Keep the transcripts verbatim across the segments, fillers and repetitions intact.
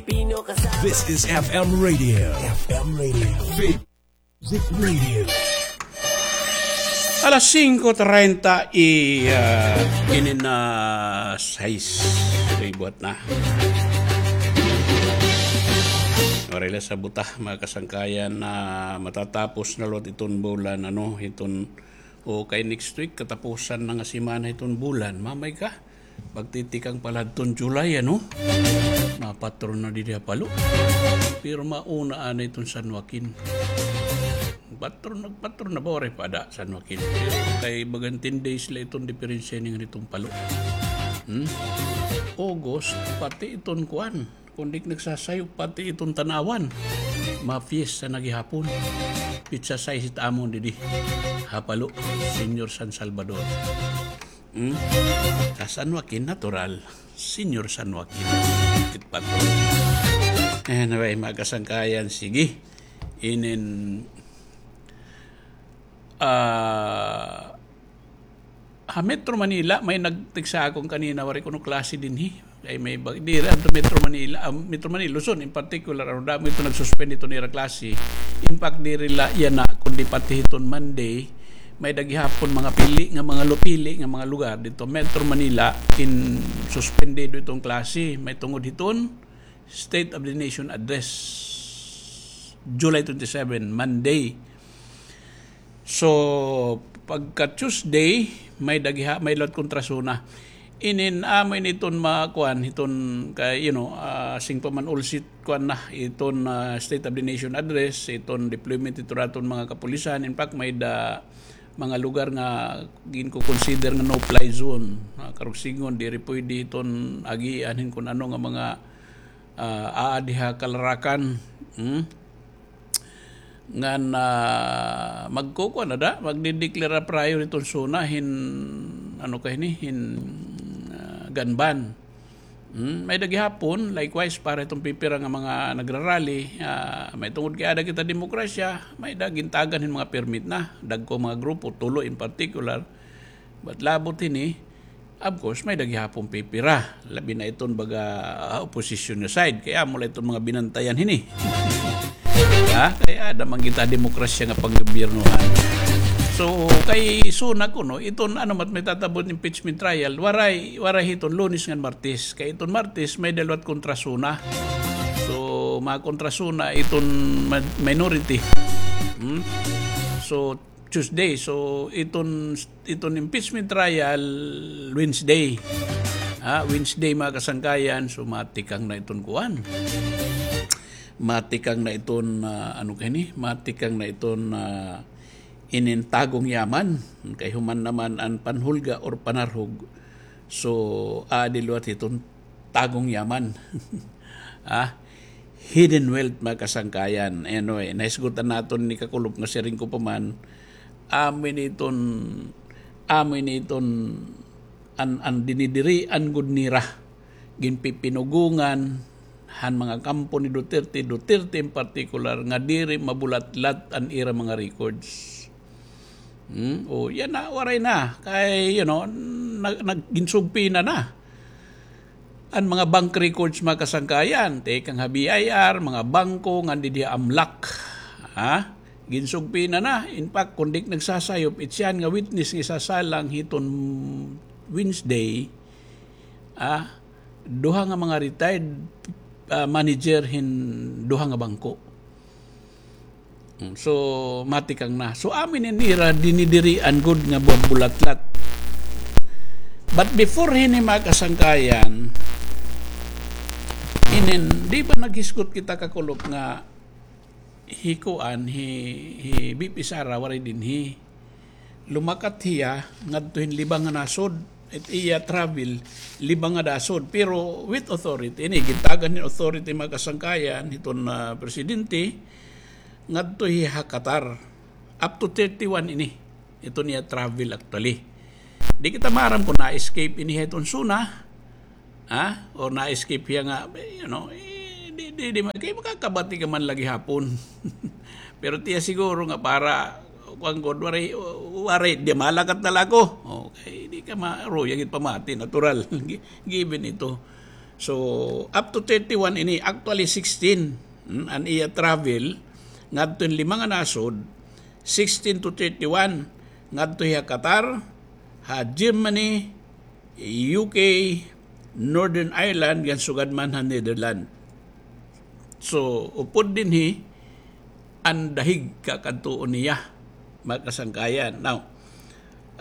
This is F M Radio. F M Radio. Faith Music Radio. Alas singko treinta y, ah, ini na sais. Ito'y buhat na. Waray la sa buta, mga kasangkayan, na matatapos na liwat iton bulan, ano, iton, o kay next week, katapusan na nga semana iton bulan. Mamay ka, magtitikang pala adton July, ano? Mapatron na didi ha Palo. Pero mauna anay iton San Joaquin. Patron, nagpatron na ba, waray pa ada San Joaquin? Kay bagan ten days la iton diperensya niyan hiton Palo. Hmm? August, pati iton kuan. Kundi nagsasayop pati iton Tanauan. Mapiesta na gihapon. Petsa sais it amon didi ha Palo, Señor San Salvador. Hmm? Sa San Joaquin, natural. Señor San Joaquin. It patron. Anyway, mga kasangkayan, sige. Inin, ah, ha Metro Manila, may nag-text ha akon kanina, waray kuno klase dinhi. Kay may bag-, diri, adto Metro Manila, ah, Metro Manila, Luzon in particular, ano, damo ito nag-suspend iton ira klase. In fact, diri la yana, kundi pati hiton Monday, may-ada gihapon mga pili nga mga lu-, pili nga mga lugar didto Metro Manila in suspendido iton klase. May tungod hiton State of the Nation Address, July twenty-seven, Monday. So, pagka Tuesday, may-ada giha-, may liwat kontra SONA. Inin amo ini iton makuan, iton kay, you know, ah, sing pa man ulsit kuan na, iton, ah, State of the Nation Address, iton deployment iton aton mga kapulisan. In fact, may-ada mga lugar nga ginko-consider nga no-fly zone. Ah, karuyag sidngon, diri pwede iton agian hin kun ano nga mga, ah, aadi ha kalarakan. Hmm? Ngan, ah, magkukuan na da, magdideklara prior iton SONA hin, ano ka hini, hin, ah, gun ban. Hmm, may-ada gihapon, likewise, para iton pipira nga mga nagrarally, ah, may tungod kay aada kita demokrasya, may-ada gintagan hin mga permit na, dagko mga grupo, tulo in particular, but labot hini, of course, may-ada gihapon pipira. Labi na iton baga, ah, opposition nga side. Kay amo la iton mga binantayan hini. Ha? Kay aada man kita demokrasya nga panggobyernohan. So, kay SONA kuno, iton ano mat may tatabo hin impeachment trial, waray, waray hiton Lunes ngan Martes. Kay iton Martes, may-ada liwat kontra SONA. So, mga kontra SONA, iton ma-, minority. Hmm? So, Tuesday. So, iton, iton impeachment trial, Wednesday. Ha, Wednesday, mga kasangkayan. So, matikang na iton kuan. Matikang na iton, ah, ano ka hini? Matikang na iton, ah, inin tagong yaman. Kay human naman an panhulga or panarhog. So, aadi liwat hiton tagong yaman. Ah, hidden wealth, mga kasangkayan. Anyway, nahisgutan naton ni Kakulop nga siring ko pa man, amo ini iton, amo ini iton an, an dinidirian gud nira, ginpipinugongan han mga kampo ni Duterte, Duterte in particular, nga diri mabulatlat an ira mga records. Hmm? O, yana, waray na. Kay, you know, nag-, nag-, ginsugpi na na an mga bank records, mga kasangkayan, tikang ha B I R, mga bangko, ngan didi ha AMLAC. Ha? Ginsugpi na na. In fact, kon di nagsasayop, it siya nga witness nga isasalang hiton Wednesday, ah, duha nga mga retired, ah, manager hin duha nga bangko. Mm, so, matikang na. So, amo ini nira dinidirian gud nga bubulatlat. But before hini, mga kasangkayan, inin, di ba naghisgot kita, Kakulop, nga hi kuan, hi, hi V P Sara waray dinhi. Lumakat hiya ngadto hin Libang nga nasod. It iya travel, Libang nga nasod. Pero with authority, ini, gintagan hin authority, mga kasangkayan, hiton, ah, presidente, ngadto hiya ha Qatar. Up to thirty-one ini. Iton iya travel actually. Di kita maaram kon na-escape ini hiton SONA. Ha? Or na-escape hiya nga, eh, you know, eh, di, di, di, ma-, kay makakabati ka man la gihapon. Pero tiya siguro nga para, kuwan gud, waray, waray, di malakat na la ako. Okay, di ka ma-, ruya gid pamati, natural. Gi-, given ito. So, up to thirty-one ini, actually sixteen, hmm, an iya travel ngadto hin lima nga nasod, sixteen to thirty-one, ngadto hiya Qatar, ha Germany, U K, Northern Ireland, ngan sugad man ha Netherlands. So, upod dinhi, an dahig kakadtuon niya, mga kasangkayan. Now,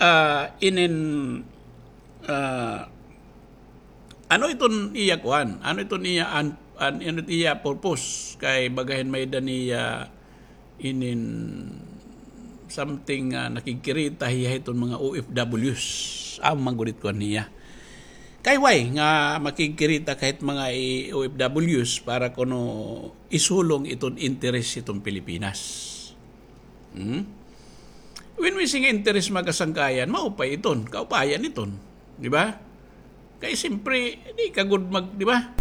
ah, inin, ah, ano iton iya kuan? Ano iton iya an, an, ano iton iya purpose? Kay bagahin may-ada niya inin something nga nakigkirita hiya hiton mga O F Ws. Amo man gud it kuan niya. Kay why nga makigkirita ka hit mga i-, O F Ws para kuno isulong iton interes hiton Pilipinas? Hmm? When we say nga interes, mga kasangkayan, maupay iton, kaupayan iton, di ba? Kay simpre, di ka gud mag-, di ba?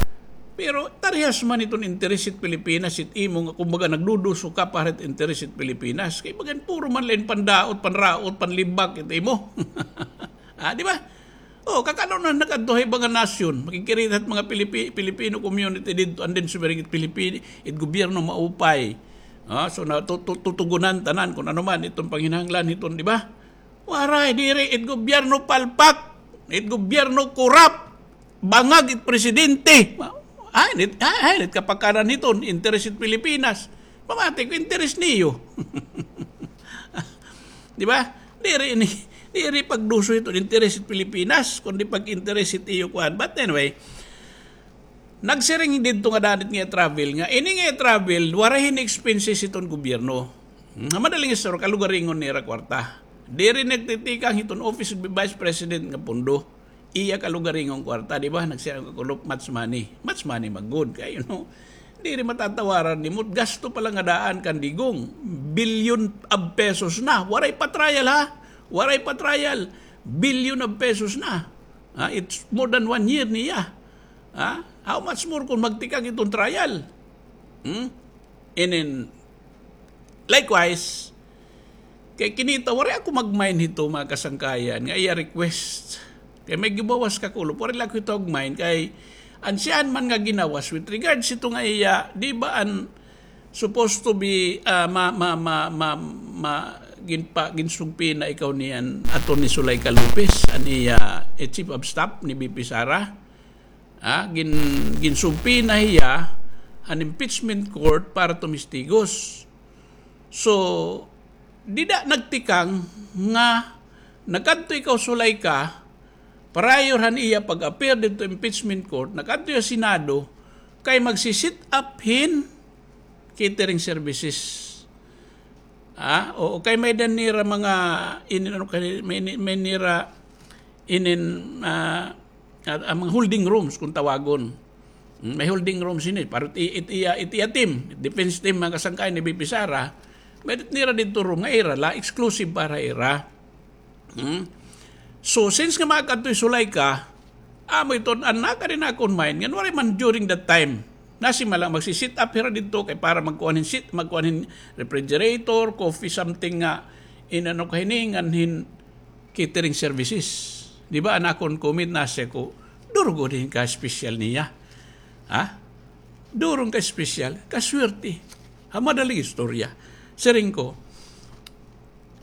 Pero tarihas man iton interes hit Pilipinas, it imo nga, kumbaga, nagduduso ka para hit interes hit Pilipinas. Kay bagan puro man la hin pandaot, panraot, panlibak, it imo. Ah, di ba? Oh, kakano na nakadto ha iba nga nasyon, makigkirita hit mga Pilipi-, Filipino community didto, and then sumiring it Pilipi-, it gobyerno maupay. Ah, so na tu-, tu-, tutugunan tanan kun ano man iton panginahanglan hiton, di ba? Waray, diri, it gobyerno palpak, it gobyerno korap, bangag it presidente. Ay, nit, ay, ay, nit kapakanan hiton, interes it Pilipinas. Pamati ko, interes niyo. Di ba? Diri ni, diri pagduso hiton interes it Pilipinas, kundi pag-interes it iyo kuan. But anyway, nagsiring didto nga danit nga travel nga, ini nga travel, waray hin expenses hiton gobyerno. Hmm, ha madaling istorya, kalugaringon nira kwarta. Diri nagtitikang hiton Office of the Vice President nga pondo. Iya kalugaringon kwarta, di ba? Nagsiring ka kulop, much money. Much money, magud. Kay, you know, diri matatawaran nimo. Gasto pa la nga daan kan Digong. Billion of pesos na. Waray pa trial, ha? Waray pa trial. Billion of pesos na. Ha? It's more than one year niya. Ha? How much more kung magtikang iton trial? Hmm? And then, likewise, kay kinita, waray ako mag-mind hito, mga kasangkayan, nga iya request. Kay may gibawas ka kulop, waray la ako hito mag-mind. Kay, an siyahan man nga ginawas, with regards hito nga iya, di ba an supposed to be, ah, ma-, ma-, ma-, ma-, ma-, ginpa-, ginsugpina ikaw niyan, Attorney Zuleika Lopez, an iya, eh, Chief of Staff ni V P Sara? Ah, gin-, ginsubpina hiya han impeachment court para tumistigos. So, dida nagtikang nga nakadto ikaw, Zuleika, prior han iya pag-appear didto impeachment court, nakadto hiya Senado, kay magsi-set up hin catering services. Ah, o kay may-ada nira mga inin, ano kay, may, may nira inin, ah, ah, mga holding rooms kung tawagon. Mm, may holding rooms ini para it, it iya, it iya team, defense team, mga kasangkay ni V P Sara, may nira didto room nga ira la, exclusive para ira. Hmm? So, since nga makadto hi Zuleika, amo iton, an nakadi ha akon mind, ngan waray man during that time. Nasiring man la magsi-set up hira didto kay para magkuan hin seat, magkuan hin refrigerator, coffee, something nga, in-ano ka hini, ngan hin catering services. Di ba, an akon comment, nasiring ko, duro gud hin ka-special niya. Ha? Duro hin ka-special, kaswerte. Ha madaling istorya. Siring ko,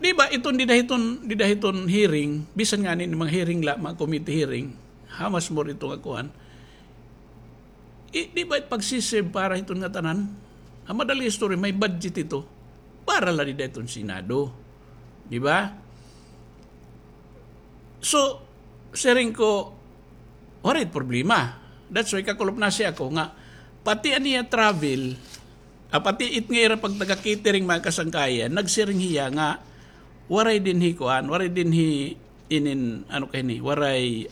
di ba, iton dida hiton, dida hiton hearing, bisan ngani mga hearing la, mga committee hearing, how much more ito nga kuan? I, di ba, pagsi-serve para hiton ngatanan? Ha madaling istorya, may budget ito. Para la dida hiton Senado. Di ba? So, siring ko, waray problema. That's why kakulop, nasiring ako nga, pati an iya travel, ah, pati it nga ira pagtaga-catering, mga kasangkayan, nagsiring hiya nga, waray dinhi kuan, waray dinhi inin, ano ka hini, waray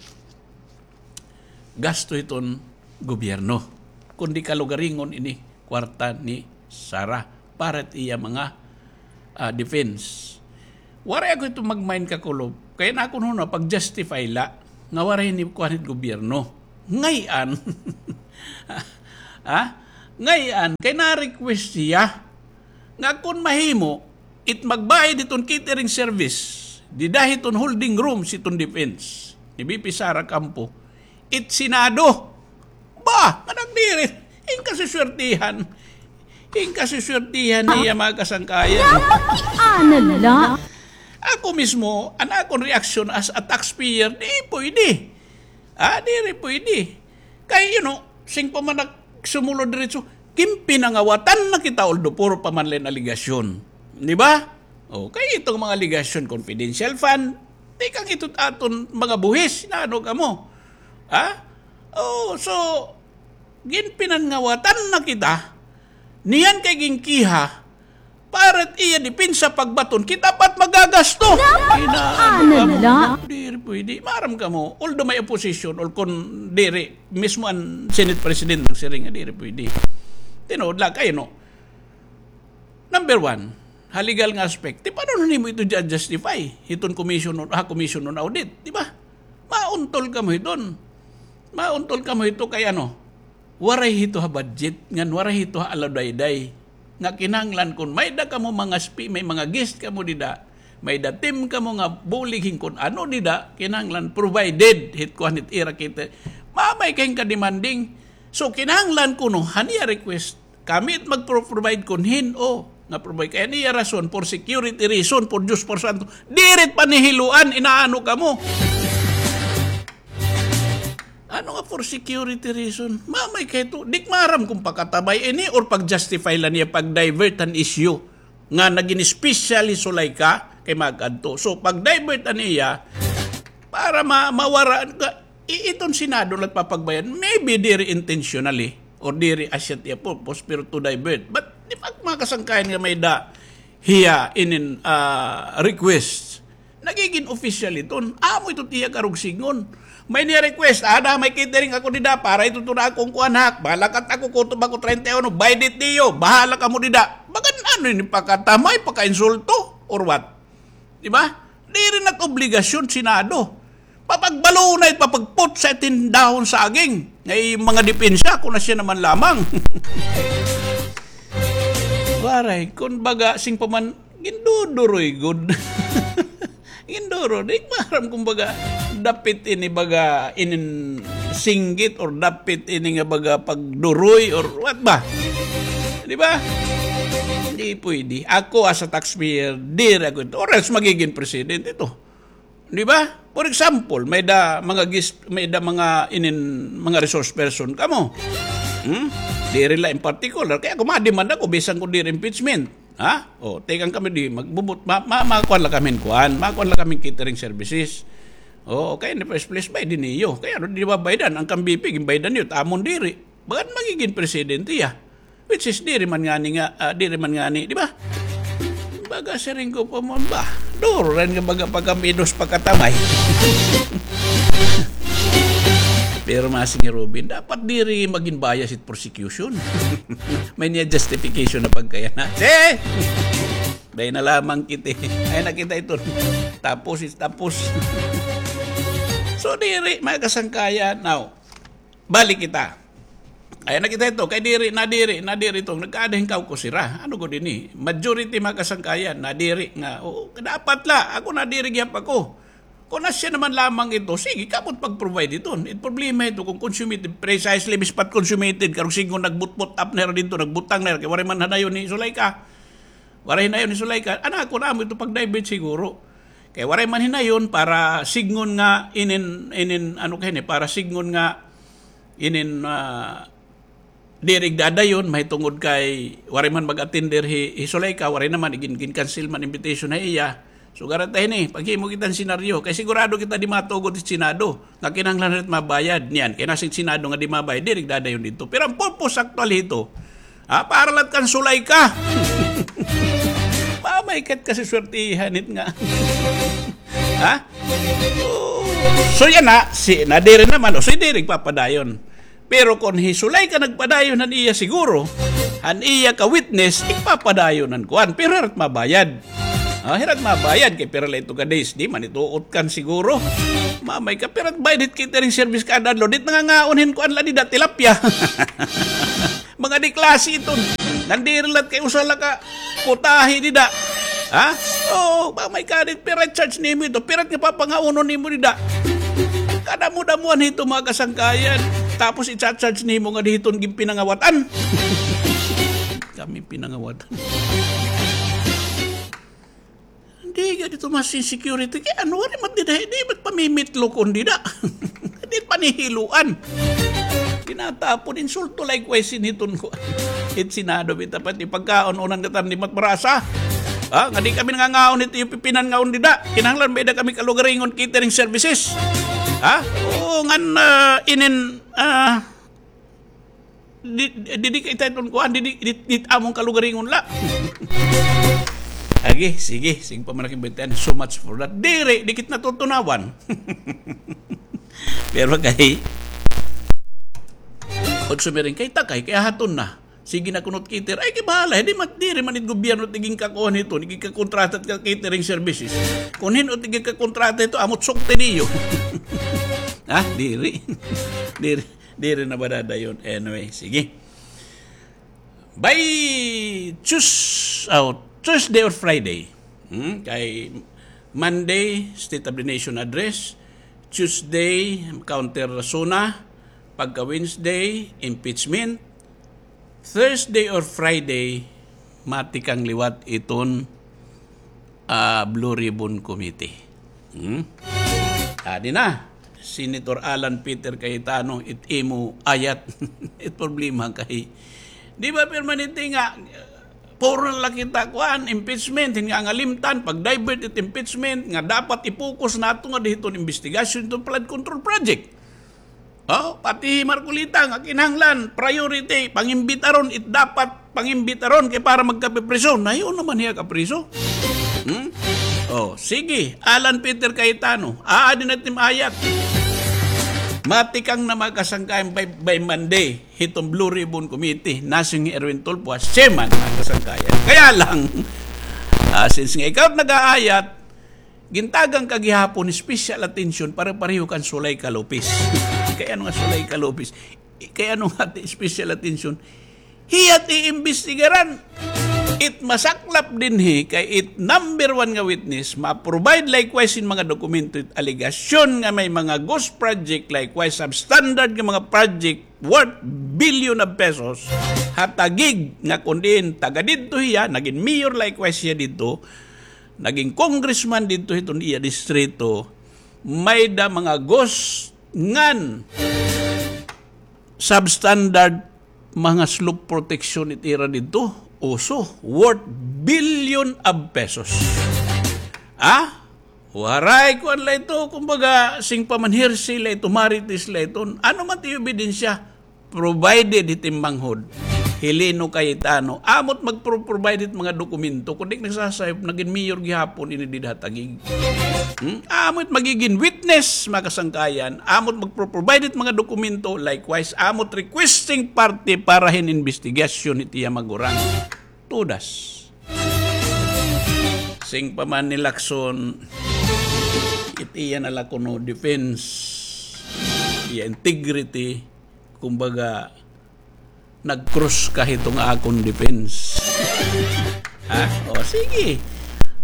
gasto hiton gobyerno, kundi kalugaringon ini kwarta ni Sara para it iya mga, ah, defense. Waray ako hito mag-mind, kakulop, kay an akon hunahuna pag-justify la nga waray ini kuan hit gobyerno. Ngay-an, ha? Ngay-an, kay na-request hiya nga kon mahimo, it magbayad hiton catering service, dida hiton holding rooms hiton defense ni V P Sara Campo, it Senado. Ah, nga nagdiri. Inkasiswertihan. Inkasiswertihan niya, mga kasangkayan. Napakiana la. Ako mismo, an akon reaksyon as a taxpayer, di pwede. Ah, diri pwede. Kay, you know, sing pa man nagsumulod diretso, ginpinangawatan na kita, although puro pa man la hin alegasyon. Di ba? O, kay iton mga alegasyon, confidential fund, tikang ito aton mga buhis, na ano kamo? Ha? O, so, ginpinangawatan na kita, niyan kay ginkiha, para it iya depensa pagbaton, kita pa it magagasto. Napakiana la. Diri pwede. Maaram kamo, although may opposition, or kon diri, mismo an Senate President nagsiring nga diri pwede. Tinuod la kay, no? Number one, ha legal nga aspect, ti paano nimo ito ja-, justify? Hiton commission on, ha, commission on audit, di ba? Mauntol kamo hiton. Mauntol kamo hito kay ano, waray hito ha budget, ngan waray hito ha aludayday. Nga kinahanglan kon may-ada kamo mga spi-, may mga guest kamo dida, may-ada team kamo nga bulig hin kon ano dida, kinahanglan provided hit kuan hit ira kita. Mamay kay ka-demanding. So, kinahanglan kuno, han iya request, kami it magpro-provide kon hin-o nga provide. Kay an iya rason, for security reason, por Diyos, por santo, diri it panihiluan, inaano kamo. Ano nga for security reason? Mamay kay ito, di ko maaram kon pakatamay ini or pag-justify la niya, pag-divert an issue nga nagin special hi Zuleika kay mag-adto. So, pag-divert an iya, para ma-, mawara, ka-, i-, iton Senado la it papagbayad. Maybe diri intentionally or diri asya it iya purpose, pero to divert. But, di ba, mga kasangkayan nga may-ada hiya inin, ah, request. Nagigin official iton. Amo ito it iya karuyag sidngon. May niya request, ada, may catering ako dida, para ito to na akong kuan ha. Balakat ako, kutob ako treinta y uno, bayad it niyo, bahala kamo dida. Bagan ano ini, pakatamay, pakainsulto, or what? Di ba? Diri na it obligasyon Senado. Papagbalunay, papagputsa iton dahon saging. Nga iya mga depensa, kon asya naman lamang. Waray, kon baga, sing pa man, ginduduroy gud. Ginduro, di ko maaram kon baga, dapit ini baga inin singgit or dapit ini nga baga pagduroy or what ba? Di ba? Di pwede. Ako as a taxpayer, diri ako ito. Or else magiging president ito. Di ba? For example, may-ada mga gis-, may-ada mga inin, mga resource person kamo. Hmm? Diri la in particular. Kay ako, ma-demand ako, bisan kon diri impeachment. Ha? O, tikang kami di, magbubut-, ma-, ma-, makuan la kami hin kuan, makuan la kami hin catering services. O, kay in the first place, bayad niyo. Kay ano, di ba baydan? An kan B P, ginbaydan niyo, it amon diri. Bagan magigin presidente hiya. Which is, diri man ngani nga, ah, diri man ngani, di ba? Baga siring ko pa man ba? Duro rin nga baga pagkaminos pagkatamay. Pero mga Sir Robin, dapat diri magin bias it prosecution. May niya justification na pagkaya na. Eh! Dahil na lamang kita. Ay, nakita ito. Tapos, is tapos. So, diri, mga kasangkayan. Now, balik kita. Ay, nakita ito. Kay diri, nadiri, nadiri ito. Nagkaada hin kaukus hira. Ano gud ini? Majority, mga kasangkayan, nadiri nga. Oo, dapat la. Ako nadiri gihap ako. Kon asya naman lamang ito, sige, kamo it pag-provide ito. It problema ito kon consummated, precisely, bispat consummated, karuyag sidngon nagbutbot up na hira didto, nagbutang na hira, kay waray man hinayon ni Zuleika. Waray hinayon ni Zuleika. Ana, kon amo ito pag-divert siguro. Kay waray man hinayon para sidngon nga inin, inin, ano kay ni, para sidngon nga inin, ah, diri igdadayon, mahitungod kay waray man mag-attender hi, hi Zuleika, waray naman, igin-, gin-cancel man invitation ha iya. So, garata hini, paghimo kita hin senaryo. Kay sigurado kita di matugot it Senado. Nga kinahanglan hira it mabayad. Niyan, kay nasiring it Senado nga di mabayad, diri igdadayon didto. Pero an purpose actually hito, ha, para la it kan Zuleika. Mamay ka it kasiswertihan it nga. Ha? So, yana, si, nadiri naman, o, si diri igpapadayon. Pero kon hi Zuleika nagpadayon han iya siguro, han iya ka-witness, igpapadayon han kuan, pero hira it mabayad. Ah, hira it mabayad, kay pira la ito ka days, di man ito utkan siguro. Mamay ka, pira it bayad hit catering service kada adlaw, di it nangangaon hin kuan la dida, tilapia. Mga di klase iton. Nandiri la it kay usa la ka putahe dida. Ha? Oo, mamay ka, di it pira it charge nimo ito, pira it nga papangaunon nimo dida. Kadamo-damoan hito, mga kasangkayan. Tapos i-charge nimo nga didto ginpinangawatan. Kami pinangawatan. Di gad ito mas security. Kay ano, waray man dida, di man pamimitlokon dida. Di panihiluan. Tinatapon, insulto likewise sin hiton ko. It Senado, bitaw pati pagkaon, unan nga tarni mat marasa. Ha? Nga di kami nangangaon hit iyo pipinan nga on dida. Kinahanglan may-ada kami kalugaringon catering services. Ha? Oo, ngan, ah, inin, ah, Di, di, di kay tayton kuan, di, di, di, di amon kalugaringon la. Agi, sige, sige pa man ak imbintahan. So much for that. Diri, di kit natutunawan. Pero kay, pag sumiring kay takay, kay haton na. Sige na kunot cater. Ay, kay bahala. Di man, diri man it gobyerno tigin kakuan ito, tigin kakontrata ka catering services. Kun hin-o tigin kakontrata ito, amot sukti niyo. Ha? Diri. Diri. Diri na ba dadayon? Anyway, sige. By Tues-, oh, Thursday or Friday. Hmm? Kay Monday, State of the Nation Address. Tuesday, counter SONA. Pagka Wednesday, impeachment. Thursday or Friday, matikang liwat iton, ah, Blue Ribbon Committee. Hmm? Adi na, Senator Alan Peter Cayetano, it imo ayat, it problema kay, di ba, permanente nga, puro na la kita, kuan, impeachment, hin nga ngalimtan, pag-divert it impeachment, nga dapat i-focus nato nga didto investigasyon, ito flood control project. Oh, pati Marcoleta nga kinahanglan, priority, pangimbitaron, it dapat pangimbitaron kay para magkapipriso. Nahiyo naman hiya kapriso. Hmm? Oh, sige, Alan Peter Cayetano, aadi na it im ayat. Matikang na mga kasangkayan by, by Monday, hiton Blue Ribbon Committee, nasiring hi Erwin Tulfo, as chairman, mga kasangkayan. Kaya lang, ah, since nga ikaw nag-aayat, gintagan ka gihapon special attention, pare-pareho kan Zuleika Lopez. Kay ano nga Zuleika Lopez? Kay ano nga ti special attention? Hiya ti iimbestigaran. It masaklap dinhi kay it number one nga witness, ma-provide likewise hin mga dokumento, it alegasyon nga may mga ghost project, likewise substandard nga mga project worth billion of pesos, ha Taguig nga kun diin taga didto hiya, nagin mayor likewise hiya didto, nagin congressman didto hiton iya distrito, may-ada mga ghost ngan substandard mga slope protection it ira didto, uso, worth billion of pesos. Ah? Waray kuan la ito, kumbaga, sing pamanhirsi la ito, marites la iton. Ano man ti ebidensya? Provided hit im manghod, Heleno Cayetano, amot magpro-, provide hit mga dokumento, kun di nagsasayop, nagin mayor gihapon ini dida ha Taguig. Hmm? Amot magigin witness, mga kasangkayan, amot magpro-, provide hit mga dokumento, likewise, amot requesting party para hin investigasyon hit iya magurang. Todas. Sing pa man ni Lacson, it iya na la kuno defense, iya integrity, kumbaga, nag-cross ka hito nga akon defense. Ha? O, sige.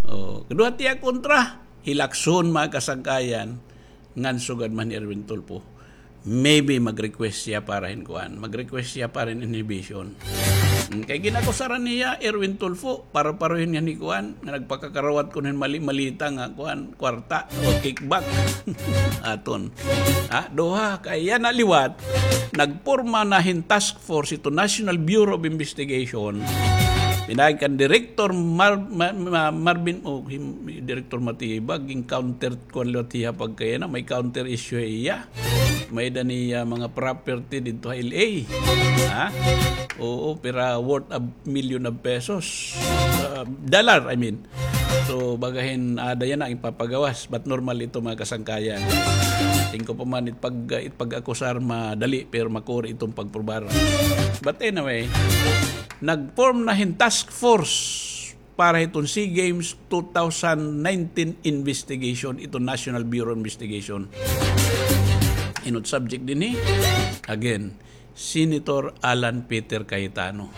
O, kaduha tiya kontra, hi Lacson, mga kasangkayan, ngan sugad man hi Erwin Tulfo. Maybe mag-request siya para hin kuan. Mag-request siya para hin inhibition. Hmm, kay gin-akusaran niya, Erwin Tulfo, para-pareho niya ni kuan, nga nagpakakarawat kuno hin mali-malita nga kuan, kwarta o kickback. Aton. Ha, duha, kay yana liwat, nagporma na hin task force ito National Bureau of Investigation. Pinaagi kan Director Mar-, Ma-, Ma-, Marvin, o, him-, Director Matibag, gin-counter kuan liwat hiya pagkayana, may counter issue hiya. May-ada niya mga property didto ha L A. Ha? Oo, pira worth a million of pesos. Ah, dollar, I mean. So, baga hin ada yana ipapagawas. But normal ito, mga kasangkayan. Tingko pa man, it pag-, it pag-akusar madali, pero makuri iton pagprobar. But anyway, nag-form na hin task force para hiton SEA Games two thousand nineteen investigation, ito National Bureau Investigation. Hin-o it subject dinhi? Again, Senator Alan Peter Cayetano.